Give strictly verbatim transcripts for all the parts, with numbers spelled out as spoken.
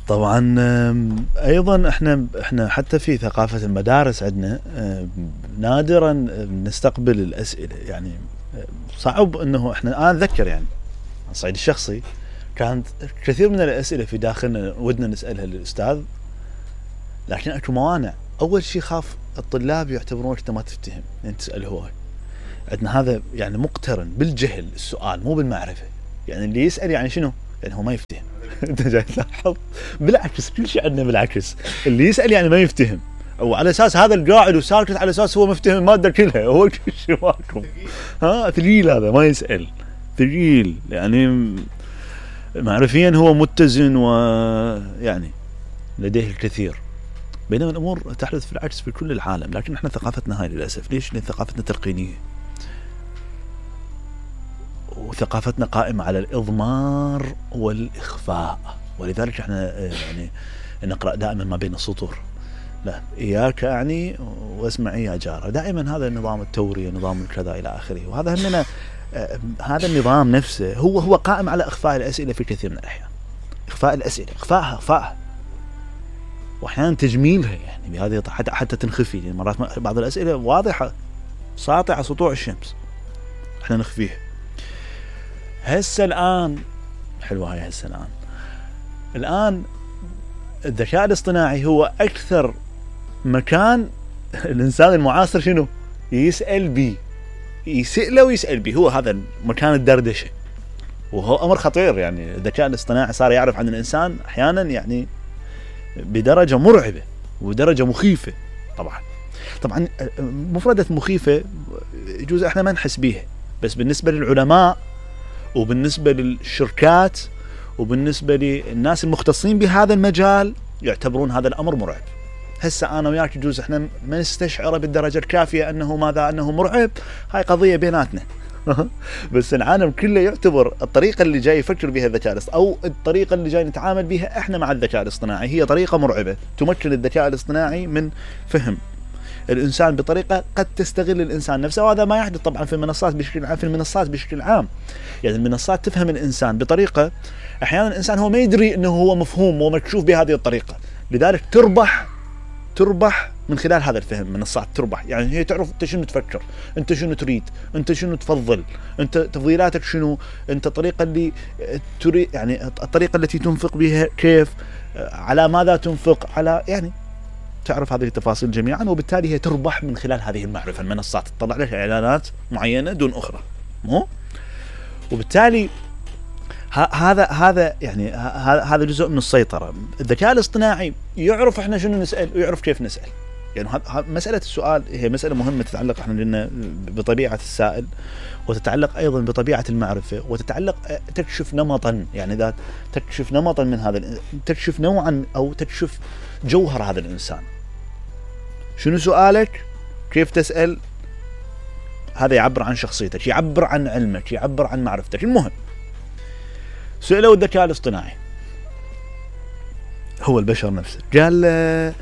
طبعا ايضا احنا احنا حتى في ثقافة المدارس عندنا نادرا نستقبل الاسئلة، يعني صعب انه احنا انا اتذكر يعني على الصعيد الشخصي كانت كثير من الاسئلة في داخلنا ودنا نسألها للاستاذ، لكن اكو موانع. اول شيء خاف الطلاب يعتبرونك انت ما تفتهم يعني تسأل هو. عندنا هذا يعني مقترن بالجهل السؤال مو بالمعرفة، يعني اللي يسأل يعني شنو؟ يعني هو ما يفتهم. انت جاي تلاحظ بالعكس كل شيء عندنا بالعكس، اللي يسأل يعني ما يفتهم، وعلى اساس هذا القاعد وساكت على اساس هو مفتهم المادة كلها، هو كل شيء ماكم. ها ثقيل هذا ما يسأل، ثقيل يعني معرفيا هو متزن ويعني لديه الكثير، بينما الامور تحدث في العكس في كل العالم. لكن احنا ثقافتنا هاي للاسف. ليش؟ لان ثقافتنا تلقينيه، وثقافتنا قائمة على الإضمار والإخفاء، ولذلك احنا يعني نقرأ دائما ما بين السطور، لا إياك أعني واسمعي يا جارة، دائما هذا النظام التوري نظام الكذا إلى آخره. وهذا همنا هذا النظام نفسه هو هو قائم على إخفاء الأسئلة في كثير من الأحيان، إخفاء الأسئلة، إخفاءها إخفاءها وأحيانا تجميلها يعني بهذه حتى حتى تنخفي، يعني مرات بعض الأسئلة واضحة ساطعة سطوع الشمس احنا نخفيها. هسه الآن حلوة هاي، هسه الآن الآن الذكاء الاصطناعي هو أكثر مكان الإنسان المعاصر شنو يسأل بيه، يسأله ويسأل بيه، هو هذا مكان الدردشة، وهو أمر خطير. يعني الذكاء الاصطناعي صار يعرف عن الإنسان أحيانا يعني بدرجة مرعبة ودرجة مخيفة. طبعا طبعا مفردة مخيفة يجوز احنا ما نحس بيها، بس بالنسبة للعلماء وبالنسبة للشركات وبالنسبة للناس المختصين بهذا المجال يعتبرون هذا الأمر مرعب. هسه أنا وياك يجوز إحنا ما نستشعر بالدرجة الكافية أنه ماذا أنه مرعب، هاي قضية بيناتنا. بس العالم كله يعتبر الطريقة اللي جاي يفكر بها الذكاء الاصطناعي أو الطريقة اللي جاي نتعامل بها إحنا مع الذكاء الاصطناعي هي طريقة مرعبة تمكن الذكاء الاصطناعي من فهم الإنسان بطريقة قد تستغل الإنسان نفسه. وهذا ما يحدث طبعا في المنصات بشكل عام، في المنصات بشكل عام يعني المنصات تفهم الإنسان بطريقة أحيانا الإنسان هو ما يدري أنه هو مفهوم ومكشوف بهذه الطريقة، لذلك تربح تربح من خلال هذا الفهم. منصات تربح يعني هي تعرف أنت شنو تفكر، أنت شنو تريد، أنت شنو تفضل، أنت تفضيلاتك شنو، أنت الطريقة اللي تريد يعني الطريقة التي تنفق بها كيف، على ماذا تنفق، على يعني تعرف هذه التفاصيل جميعا، وبالتالي هي تربح من خلال هذه المعرفة. المنصات تطلع لك إعلانات معينة دون أخرى، مو وبالتالي هذا هذا يعني هذا جزء من السيطرة. الذكاء الاصطناعي يعرف احنا شنو نسأل ويعرف كيف نسأل، يعني مسألة السؤال هي مسألة مهمة تتعلق احنا لنا بطبيعة السائل، وتتعلق أيضا بطبيعة المعرفة، وتتعلق تكشف نمطا، يعني ذات تكشف نمطا من هذا، تكشف نوعا أو تكشف جوهر هذا الإنسان. شنو سؤالك، كيف تسأل، هذا يعبر عن شخصيتك، يعبر عن علمك، يعبر عن معرفتك. المهم سألوا الذكاء الاصطناعي هو البشر نفسه، قال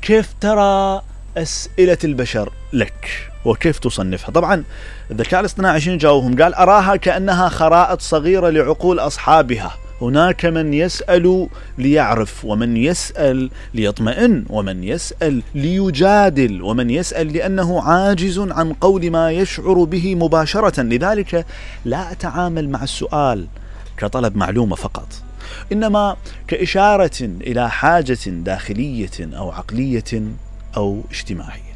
كيف ترى أسئلة البشر لك وكيف تصنفها. طبعا الذكاء الاصطناعي شنو جاوبهم؟ قال أراها كأنها خرائط صغيرة لعقول أصحابها، هناك من يسأل ليعرف، ومن يسأل ليطمئن، ومن يسأل ليجادل، ومن يسأل لأنه عاجز عن قول ما يشعر به مباشرة. لذلك لا أتعامل مع السؤال كطلب معلومة فقط، إنما كإشارة إلى حاجة داخلية أو عقلية أو اجتماعية.